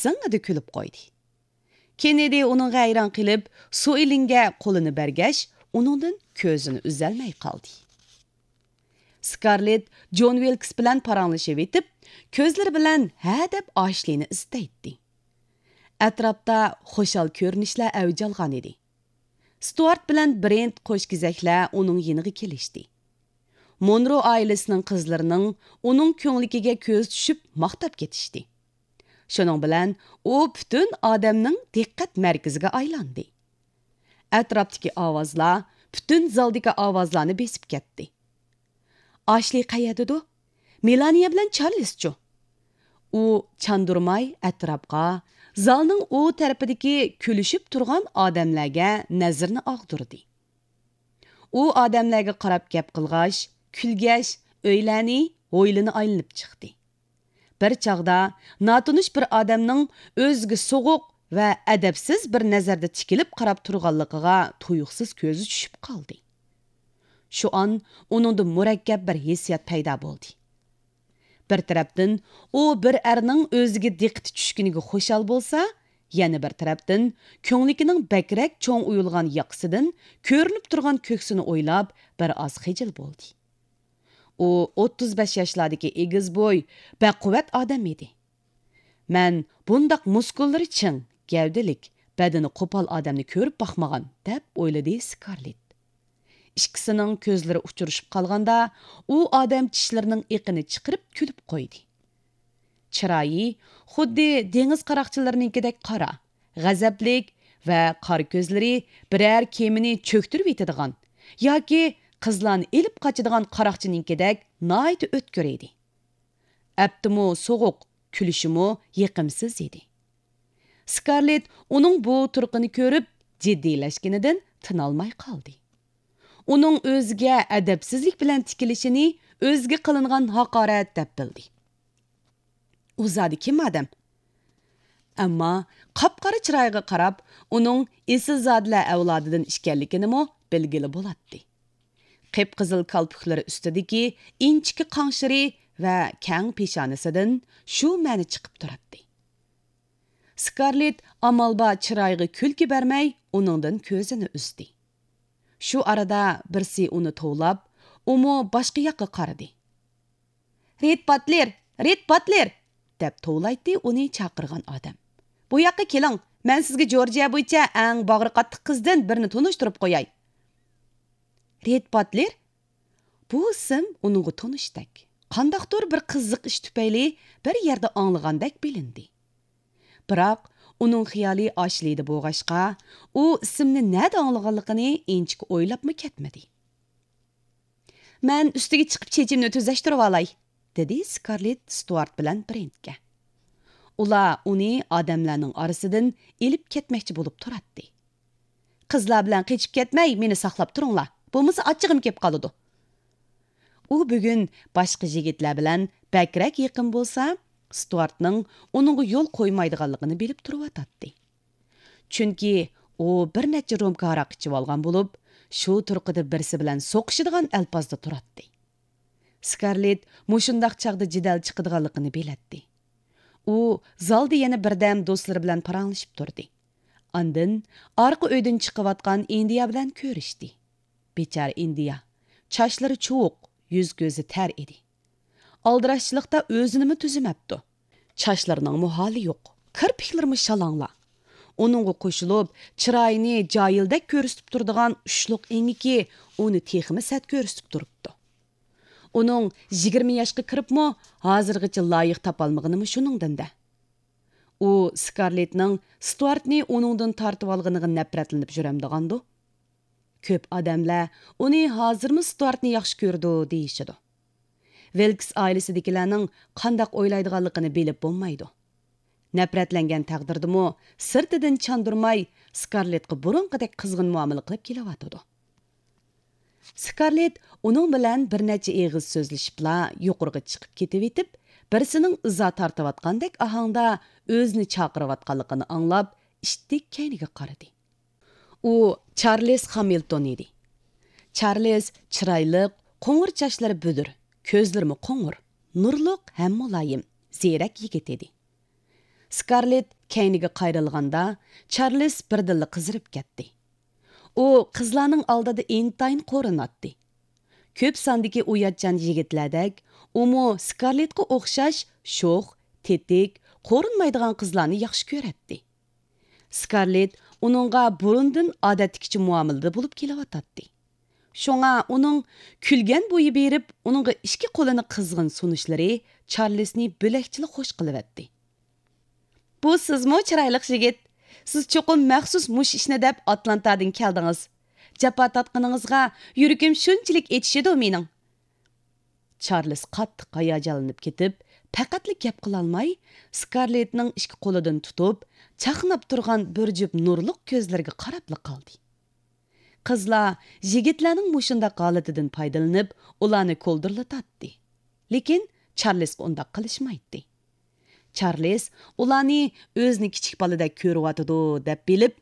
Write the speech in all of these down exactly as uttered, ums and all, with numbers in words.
زىڭڭىدە كۈلۈپ قويدى. كېننېدى ئۇنىڭغا ھەيران قېلىپ، سۇئېلىنگە قولىنى بەرگەچ، ئۇنىڭدىن كۆزىنى ئۈزەلمەي قالدى. سكارلېت جون ۋىلكس بىلەن پاراڭلىشىۋېتىپ، كۆزلىرى بىلەن ھە دەپ ئاشلىنى ئىزدەيتتى. ئەتراپتا خۇشال كۆرۈنۈشلەر ئەۋج ئالغان ئىدى. ستۇئارت بىلەن برېنت قوش كېزەكلەر ئۇنىڭ يېنىغا كېلىشتى. مونرو ئائىلىسىنىڭ قىزلىرىنىڭ ئۇنىڭ كۆڭلىكىگە كۆز چۈشۈپ ماختاپ كېتىشتى. شۇنىڭ بىلەن ئۇ پۈتۈن ئادەمنىڭ دىققەت مەركىزىگە ئايلاندى. ئەتراپتىكى ئاۋازلار پۈتۈن زالدىكى ئاۋازلارنى بېسىپ كەتتى. ئاشلى قەيەردىدۇ؟ مېلانىيە بىلەن چارلىزچۇ؟ ئۇ چاندۇرماي ئەتراپقا، زالنىڭ ئۇ تەرىپىدىكى كۈلۈشۈپ تۇرغان ئادەملەرگە نەزىرىنى ئاغدۇردى. ئۇ ئادەملەرگە قاراپ گەپ قىلغاچ، كۈلگەچ، ئۆيلەرنى، ھويلىنى ئايلىنىپ چىقتى. بىر چاغدا ناتونۇش بىر ئادەمنىڭ ئۆزىگە سوغۇق ۋە ئەدەپسىز بىر نەزەردە تىكىلىپ قاراپ تۇرغانلىقىغا تۇيۇقسىز كۆزى چۈشۈپ قالدى. شۇ ئان ئۇنىڭدا مۇرەككەپ بىر ھېسسىيات پەيدا بولدى. بىر تەرەپتىن، ئۇ بىر ئەرنىڭ ئۆزىگە دىققىتى چۈشكىنىگە خۇشال بولسا، يەنە بىر تەرەپتىن، كۆڭلىكىنىڭ بەكرەك چوڭ ئويۇلغان ياقىسىدىن كۆرۈنۈپ تۇرغان كۆكسىنى ئويلاپ، بىر ئاز خىجىل بولدى. ئۇ ئوتتۇز بەش ياشلاردىكى ئېگىز بوي، بەقۇۋۋەت ئادەم ئىدى. مەن بۇنداق مۇسكۇللىرى چىڭ، گەۋدىلىك، بەدىنى قوپال ئادەمنى كۆرۈپ باقمىغان، دەپ ئويلىدى سكارلېت. ئىككىسىنىڭ كۆزلىرى ئۇچرىشىپ قالغاندا، ئۇ ئادەم چىشلىرىنىڭ ئېقىنى چىقىرىپ كۈلۈپ قويدى. چىرايى خۇددى دېڭىز قاراقچىلىرىنىڭكىدەك قارا، غەزەپلىك ۋە قارا كۆزلىرى بىرەر كېمىنى چۆكتۈرۈۋېتىدىغان ياكى قىزلارنى ئېلىپ قاچىدىغان قاراقچىنىڭكىدەك ناھايىتى ئۆتكۈر ئىدى. ئەپتىمۇ سوغۇق، كۈلۈشىمۇ يېقىمسىز ئىدى. سكارلېت ئۇنىڭ بۇ تۇرقىنى كۆرۈپ، جىددىيلەشكىنىدىن تىنالماي قالدى. ئۇنىڭ ئۆزىگە ئەدەپسىزلىك بىلەن تىكىلىشىنى ئۆزىگە قىلىنغان ھاقارەت دەپ بىلدى. ئۇ زادى كىم ئادەم؟ ئەمما قاپقارا چىرايىغا قاراپ، ئۇنىڭ ئېسىلزادىلەر ئەۋلادىدىن ئىكەنلىكىنىمۇ بىلگىلى بولاتتى. قىپقىزىل كالپۇكلىرى ئۈستىدىكى ئىنچىكە قاڭشىرى ۋە كەڭ پېشانىسىدىن شۇ مەنە چىقىپ تۇراتتى. سكارلېت ئامال بار چىرايىغا كۈلكە بەرمەي، ئۇنىڭدىن كۆزىنى ئۈزدى. شۇ ئارىدا بىرسى ئۇنى توۋلاپ، ئۇمۇ باشقا ياققا قارىدى. «رېد باتلېر! رېد باتلېر!» دەپ توۋلايتتى ئۇنى چاقىرغان ئادەم. «بۇ ياققا كېلىڭ، مەن سىزگە جورجىيە بويىچە ئەڭ باغرى قاتتىق قىزدىن بىرنى تونۇشتۇرۇپ قوياي.» رېد باتلېر؟ بۇ ئىسىم ئۇنىڭغا تونۇشتەك، قانداقتۇر بىر قىزىق ئىش تۈپەيلى بىر يەردە ئاڭلىغاندەك بىلىندى. بىراق، ئۇنىڭ خىيالى ئاشلىدا بولغاچقا، ئۇ ئىسىمنى نەدە ئاڭلىغانلىقىنى ئىنچىكە ئويلاپمۇ كەتمىدى. «مەن ئۈستىگە چىقىپ چېچىمنى تۈزەشتۈرۈۋالاي»، دېدى سكارلېت ستۇئارت بىلەن برېنتكە. ئۇلار ئۇنى ئادەملەرنىڭ ئارىسىدىن ئېلىپ كەتمەكچى بولۇپ تۇراتتى. «قىزلار بىلەن قېچىپ كەتمەي، مېنى ساقلاپ تۇرۇڭلار، بولمىسا ئاچچىقىم كېلىپ قالىدۇ.» ئۇ بۈگۈن باشقا يىگىتلەر بىلەن بەكرەك يېقىن بولسا، ستۇئارتنىڭ ئۇنىڭغا يول قويمايدىغانلىقىنى بىلىپ تۇرۇۋاتاتتى. چۈنكى ئۇ بىر نەچچە رومكا ھاراق ئىچىۋالغان بولۇپ، شۇ تۇرقىدا بىرسى بىلەن سوقۇشىدىغان ئەلپازدا تۇراتتى. سكارلېت مۇشۇنداق چاغدا جېدەل چىقىدىغانلىقىنى بىلەتتى. ئۇ زالدا يەنە بىردەم دوستلىرى بىلەن پاراڭلىشىپ تۇردى. ئاندىن ئارقا ئۆيدىن چىقىۋاتقان ئىندىيا بىلەن كۆرۈشتى. بىچارە ئىندىيا، چاچلىرى چۇۋۇق، يۈز-كۆزى تەر ئىدى. ئالدىراشچىلىقتا ئۆزىنىمۇ تۈزىمەپتۇ. چاچلىرىنىڭمۇ ھالى يوق، كىرپىكلىرىمۇ شالاڭلا. ئۇنىڭغا قوشۇلۇپ، چىرايىنى جاھىلدەك كۆرسىتىپ تۇرىدىغان ئۇچلۇق ئېڭىكى ئۇنى تېخىمۇ سەت كۆرسىتىپ تۇرۇپتۇ. ئۇنىڭ يىگىرمە ياشقا كىرىپمۇ ھازىرغىچە لايىق تاپالمىغىنىمۇ شۇنىڭدىن-دە. ئۇ سكارلېتنىڭ ستۇئارتنى ئۇنىڭدىن تارتىۋالغىنىغا نەپرەتلىنىپ يۈرەمدىغاندۇ؟ كۆپ ئادەملەر ئۇنى ھازىرمۇ ستۇئارتنى ياخشى كۆرىدۇ دېيىشىدۇ. ۋىلكس ئائىلىسىدىكىلەرنىڭ قانداق ئويلايدىغانلىقىنى بىلىپ بولمايدۇ. نەپرەتلەنگەن تەقدىردىمۇ سىرتىدىن چاندۇرماي، سكارلېتقا بۇرۇنقىدەك قىزغىن مۇئامىلە قىلىپ كېلىۋاتىدۇ. سكارلېت ئۇنىڭ بىلەن بىر نەچچە ئېغىز سۆزلىشىپلا يۇقىرىغا چىقىپ كېتىۋېتىپ، بىرسىنىڭ ئىزا تارتىۋاتقاندەك ئاھاڭدا ئۆزىنى چاقىرىۋاتقانلىقىنى ئاڭلاپ، ئىتتىك كەينىگە قارىدى. ئۇ چارلىز خامىلتون ئىدى. چارلىز چىرايلىق، قوڭۇر چاچلىرى بۈدۈر، كۆزلىرىمۇ قوڭۇر، نۇرلۇق ھەم مۇلايىم، زېرەك يىگىت ئىدى. سكارلېت كەينىگە قايرىلغاندا، چارلىز بىردىنلا قىزىرىپ كەتتى. ئۇ قىزلارنىڭ ئالدىدا ئىنتايىن قورۇناتتى. كۆپ ساندىكى ئۇياتچان يىگىتلەردەك، ئۇمۇ سكارلېتقا ئوخشاش شوخ، تېتىك، قورۇنمايدىغان قىزلارنى ياخشى كۆرەتتى. سكارلېت ئۇنىڭغا بۇرۇندىن ئادەتتىكىچە مۇئامىلىدە بولۇپ كېلىۋاتاتتى. شۇڭا ئۇنىڭ كۈلگەن بويى بېرىپ، ئۇنىڭغا ئىككى قولىنى قىزغىن سۇنۇشلىرى چارلىزنى بۆلەكچىلا خوش قىلىۋەتتى. بۇ سىزمۇ، چىرايلىق يىگىت؟ سىز چوقۇم مەخسۇس مۇشۇ ئىشنى دەپ ئاتلانتادىن كەلدىڭىز. جاپا تارتقىنىڭىزغا يۈرىكىم شۇنچىلىك ئېچىشىدۇ مېنىڭ. چارلىز قاتتىق ھاياجانلىنىپ كېتىپ، پەقەتلا گەپ قىلالماي، سكارلېتنىڭ ئىككى قولىدىن تۇتۇپ، چاقناپ تۇرغان بىر جۈپ نۇرلۇق كۆزلىرىگە قاراپلا قالدى. قىزلار يىگىتلەرنىڭ مۇشۇنداق ھالىتىدىن پايدىلىنىپ، ئۇلارنى كولدۇرلىتاتتى. لېكىن چارلىزغا ئۇنداق قىلىشمايتتى. چارلىز ئۇلارنى ئۆزىنى كىچىك بالىدەك كۆرۈۋاتىدۇ دەپ بىلىپ،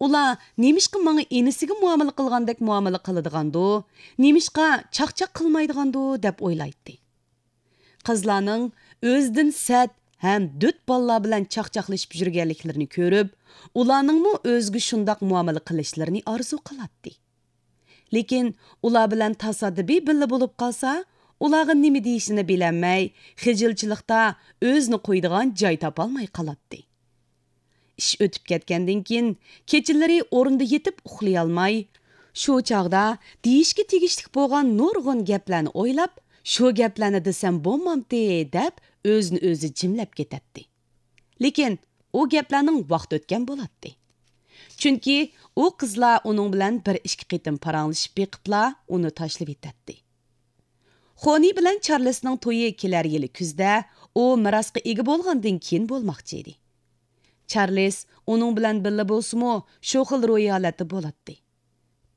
ئۇلار نېمىشقا ماڭا ئىنىسىگە مۇئامىلە قىلغاندەك مۇئامىلە قىلىدىغاندۇ، نېمىشقا چاقچاق قىلمايدىغاندۇ دەپ ئويلايتتى. قىزلارنىڭ ئۆزىدىن سەت ھەم دۆت بالىلار بىلەن چاقچاقلىشىپ يۈرگەنلىكلىرىنى كۆرۈپ، ئۇلارنىڭمۇ ئۆزىگە شۇنداق مۇئامىلە قىلىشلىرىنى ئارزۇ قىلاتتى. لېكىن ئۇلار بىلەن تاسادىپىي بىللە بولۇپ قالسا، ئۇلارغا نېمە دېيىشىنى بىلەلمەي، خىجىلچىلىقتا ئۆزىنى قويىدىغان جاي تاپالماي قالاتتى. ئىش ئۆتۈپ كەتكەندىن كېيىن، كېچىلىرى ئورنىدا يېتىپ ئۇخلىيالماي، شۇ چاغدا دېيىشكە تېگىشلىك بولغان نۇرغۇن گەپلەرنى ئويلاپ، شۇ گەپلەرنى دېسەم بولمامتى دەپ، ئۆزىنى ئۆزى جىملەپ كېتەتتى. لېكىن ئۇ گەپلەرنىڭ ۋاقتى ئۆتكەن بولاتتى. چۈنكى ئۇ قىزلار ئۇنىڭ بىلەن بىر ئىككى قېتىم پاراڭلىشىپ بېقىپلا، ئۇنى تاشلىۋېتەتتى. خونى بىلەن چارلىسنىڭ تويى كېلەر يىلى كۈزدە ئۇ مىراسقا ئىگە بولغاندىن كېيىن بولماقچى ئىدى. چارلىس ئۇنىڭ بىلەن بىللە بولسىمۇ، شۇ خىل روھىي ھالەتتە بولاتتى.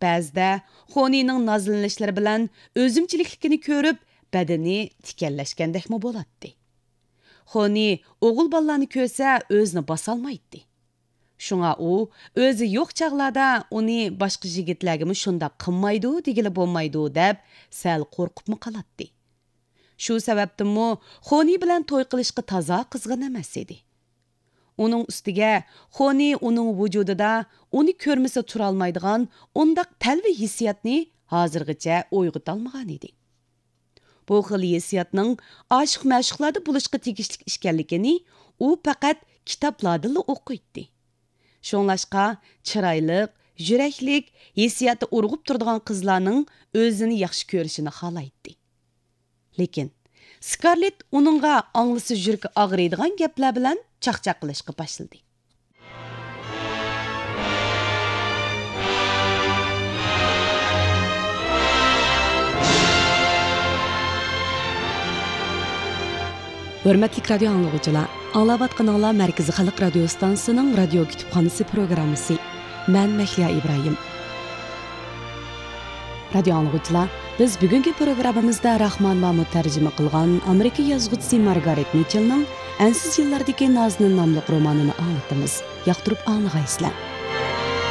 بەزىدە خونىنىڭ نازلىنىشلىرى بىلەن ئۆزۈمچىلىكلىكىنى كۆرۈپ، بەدىنى تىكەنلەشكەندەكمۇ بولاتتى. خونى ئوغۇل بالىلارنى كۆرسە، ئۆزىنى باسالمايتتى. شۇڭا ئۇ ئۆزى يوق چاغلاردا ئۇنى باشقا يىگىتلەرگىمۇ شۇنداق قىلمايدۇ دېگىلى بولمايدۇ دەپ، سەل قورقۇپمۇ قالاتتى. شۇ سەۋەبتىنمۇ خونى بىلەن توي قىلىشقا تازا قىزغىن ئەمەس ئىدى. ئۇنىڭ ئۈستىگە خونى ئۇنىڭ ۋۇجۇدىدا ئۇنى كۆرمىسە تۇرالمايدىغان ئۇنداق تەلۋە ھېسسىياتنى ھازىرغىچە ئويغىتالمىغان ئىدى. بۇ خىل ھېسسىياتنىڭ ئاشىق-مەشۇقلاردا بولۇشقا تېگىشلىك ئىكەنلىكىنى ئۇ پەقەت كىتابلاردىنلا ئوقۇيتتى. شۇڭلاشقا، چىرايلىق، يۈرەكلىك، ھېسسىياتى ئۇرغۇپ تۇرىدىغان قىزلارنىڭ ئۆزىنى ياخشى كۆرۈشىنى خالايتتى. لېكىن سكارلېت ئۇنىڭغا ئاڭلىسا يۈرىكى ئاغرىيدىغان گەپلەر بىلەن چاقچاق قىلىشقا باشلىدى. ھۆرمەتلىك رادىيو ئاڭلىغۇچىلار، ئاڭلاۋاتقىنىڭلار مەركىزىي خەلق رادىيو ئىستانسىسىنىڭ رادىيو كۇتۇپخانىسى پروگراممىسى. مەن مەھلىيا ئىبراھىم. رادىيو ئاڭلىغۇچىلار، بىز بۈگۈنكى پروگراممىمىزدا راخمان مامۇت تەرجىمە قىلغان ئامېرىكا يازغۇچىسى مارگارېت مىچېلنىڭ ئەنسىز يىللاردىكى نازىنىن ناملىق رومانىنى ئاڭلىتىمىز. ياقتۇرۇپ ئاڭلىغايسىلەر.